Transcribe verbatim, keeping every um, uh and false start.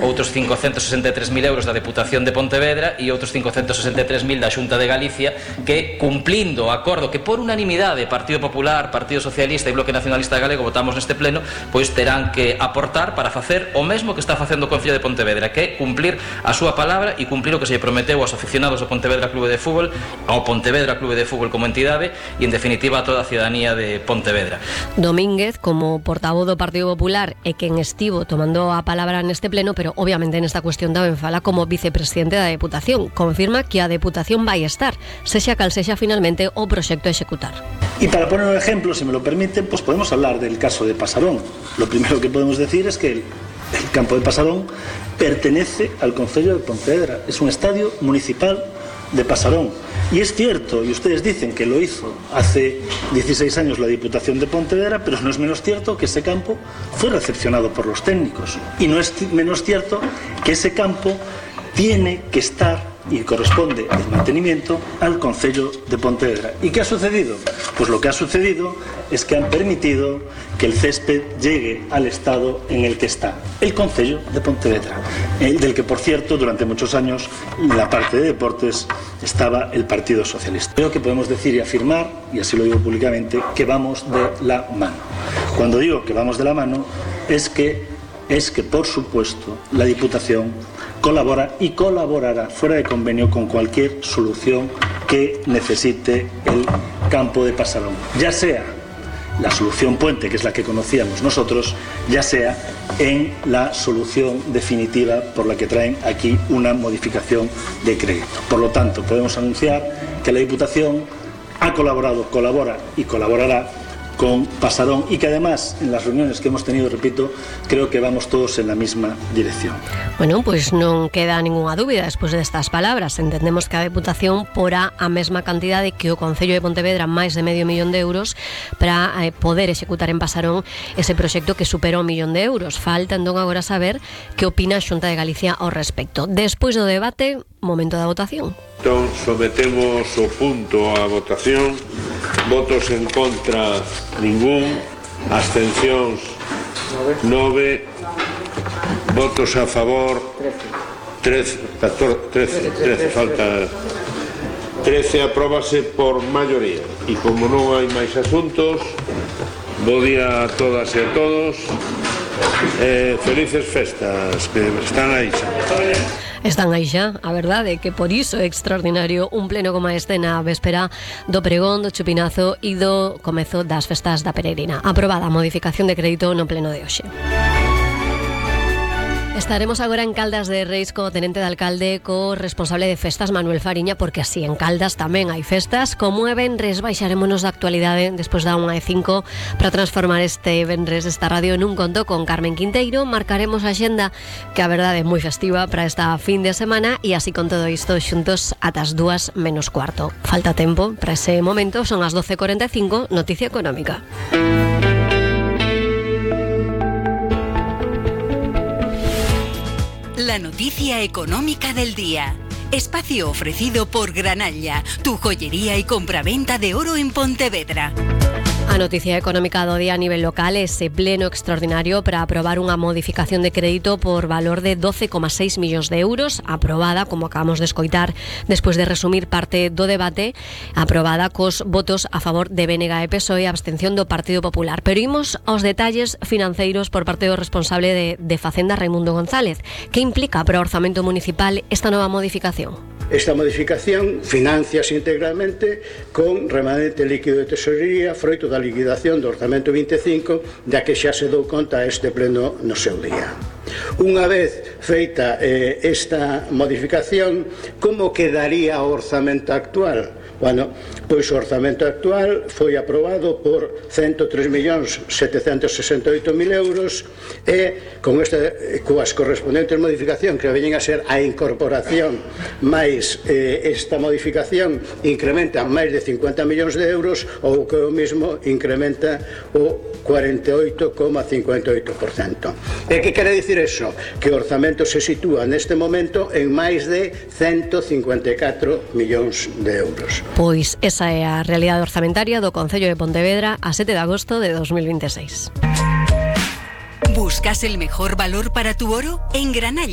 outros cincocentos sesenta e tres mil euros da Deputación de Pontevedra e outros cincocentos sesenta e tres mil da Xunta de Galicia, que, cumplindo o acordo que por unanimidade Partido Popular, Partido Socialista e Bloque Nacionalista Galego votamos neste pleno, pois terán que aportar para facer o mesmo que está facendo o Concello de Pontevedra, que é cumplir a súa palabra e cumplir o que se lle prometeu aos aficionados do Pontevedra Clube de Fútbol, ao Pontevedra Clube de Fútbol como entidade e, en definitiva, a toda a ciudadanía de Pontevedra. Domínguez, como portavoz do Partido Popular e quen estivo tomando a palabra neste pleno, pero obviamente nesta cuestión tamén fala como vicepresidente da Deputación. Confirma que a Deputación vai estar, sexa cal sexa finalmente o proxecto a executar. Y para poner un ejemplo, si me lo permiten, pues podemos hablar del caso de Pasarón. Lo primero que podemos decir es que el, el campo de Pasarón pertenece al Concello de Pontevedra. Es un estadio municipal de Pasarón. Y es cierto, y ustedes dicen que lo hizo hace dieciséis años la Diputación de Pontevedra, pero no es menos cierto que ese campo fue recepcionado por los técnicos. Y no es menos cierto que ese campo tiene que estar y corresponde el mantenimiento al Concello de Pontevedra. ¿Y qué ha sucedido? Pues lo que ha sucedido es que han permitido que el césped llegue al estado en el que está, el Concello de Pontevedra, el del que, por cierto, durante muchos años en la parte de deportes estaba el Partido Socialista. Creo que podemos decir y afirmar, y así lo digo públicamente, que vamos de la mano. Cuando digo que vamos de la mano es que, es que por supuesto, la Diputación colabora y colaborará fuera de convenio con cualquier solución que necesite el campo de Pasarón, ya sea la solución puente, que es la que conocíamos nosotros, ya sea en la solución definitiva por la que traen aquí una modificación de crédito. Por lo tanto, podemos anunciar que la Diputación ha colaborado, colabora y colaborará con Pasarón y que además en las reuniones que hemos tenido, repito, creo que vamos todos en la misma dirección. Bueno, pois non queda ninguna dúbida despois destas palabras. Entendemos que a Deputación porá a mesma cantidade que o Concello de Pontevedra, máis de medio millón de euros, para eh, poder executar en Pasarón ese proxecto que supera un millón de euros. Falta entón agora saber que opina a Xunta de Galicia ao respecto. Despois do debate, momento da votación. Entón, sometemos o punto á votación. Votos en contra, ningún. Abstencións, nove. Votos a favor, trece. trece, trece, falta trece. Apróbase por maioría. E como non hai máis asuntos, bo día a todas e a todos. Eh, felices festas, que están aí xa. Están aí xa, a verdade é que por iso é extraordinario un pleno como este na véspera do pregón, do chupinazo e do comezo das festas da peregrina. Aprobada a modificación de crédito no pleno de hoxe. Estaremos agora en Caldas de Reis co tenente de alcalde, co responsable de festas Manuel Fariña, porque así en Caldas tamén hai festas. Como é venres, baixarémonos da actualidade despois da unha e cinco para transformar este venres esta radio nun conto con Carmen Quinteiro. Marcaremos a xenda, que a verdade é moi festiva para esta fin de semana, e así con todo isto xuntos ata as dúas menos cuarto. Falta tempo para ese momento, son as doce e cuarenta e cinco, noticia económica. La noticia económica del día. Espacio ofrecido por Granalla, tu joyería y compraventa de oro en Pontevedra. A noticia económica do día a nivel local é ese pleno extraordinario para aprobar unha modificación de crédito por valor de doce coma seis millóns de euros, aprobada, como acabamos de escoitar despois de resumir parte do debate, aprobada cos votos a favor de B N G e P S O E e a abstención do Partido Popular. Pero imos aos detalles financeiros por parte do responsable de, de Facenda, Raimundo González. Que implica para o orzamento municipal esta nova modificación? Esta modificación financiase integralmente con remanente líquido de tesorería froito da liquidación do orzamento vinte e cinco, da que xa se dou conta este pleno no seu día. Unha vez feita eh, esta modificación, como quedaría o orzamento actual? Bueno, pois o orzamento actual foi aprobado por ciento tres millóns setecentos sesenta e oito mil euros e con este, coas correspondentes modificacións que veñen a ser a incorporación máis eh, esta modificación incrementa máis de cincuenta millóns de euros, ou que o mismo incrementa o cuarenta e oito coma cincuenta e oito por cento. E que quere dicir eso? Que o orzamento se sitúa neste momento en máis de ciento cincuenta e catro millóns de euros. Pois esa é a realidade orzamentaria do Concello de Pontevedra a sete de agosto de dos mil veintiséis. ¿Buscas el mejor valor para tu oro? En Granalla